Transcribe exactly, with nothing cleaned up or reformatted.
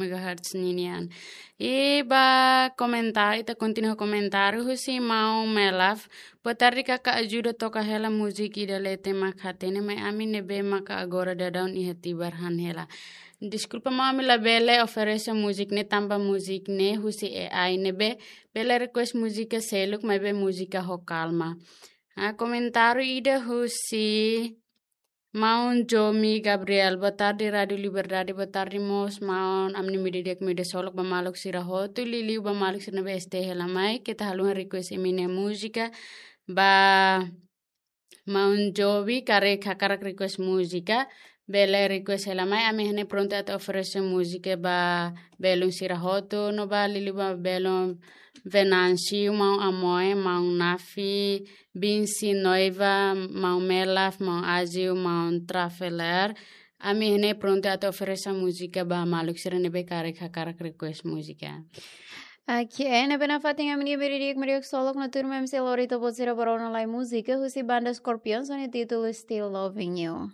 megahertz ninian. I ba komentáriu, ita kontinua komentáriu husi maun Melaf. Boa tarde, kaka ajuda toka hela múzika ida leten mak hatene, mai ami ne'ebé maka agora daudaun iha tibar han hela. Deskulpa maun, ami labele oferese múzika ne'e tanba múzika ne'e husi A I, ne'ebé bele request múzika seluk, maibé múzika ho kalma. Ah, komentáriu ida husi maun Jomi Gabriel. Boa tarde, Rádio Liberdade. Boa tarde, mós maun. Ami-nia imi di'ak, imi di'ak solok ba maluk sira hotu, liuliu ba maluk sira ne'ebé S T hela mai. Keta haluha request imi-nia múzika ba maun Jomi, karik hakarak request múzika, bele request hela mai. Ami iha ne'e prontu atu oferese múzika ba belun sira hotu, no ba liuliu ba belun Venâncio, maun Amoe, maun Nafi, Binsi, Noiva, maun Melaf, maun Azil, maun Traveler. Ami iha ne'e prontu atu oferese múzika ba maluk sira ne'ebé karik hakarak request múzika. Oke, ne'ebé nafatin ami-nia imi di'ak, imi di'ak solok, no tuirmai ami sei lori to'o buat sira ba rona lai múzika husi banda Scorpions ho nia títulu Still Loving You.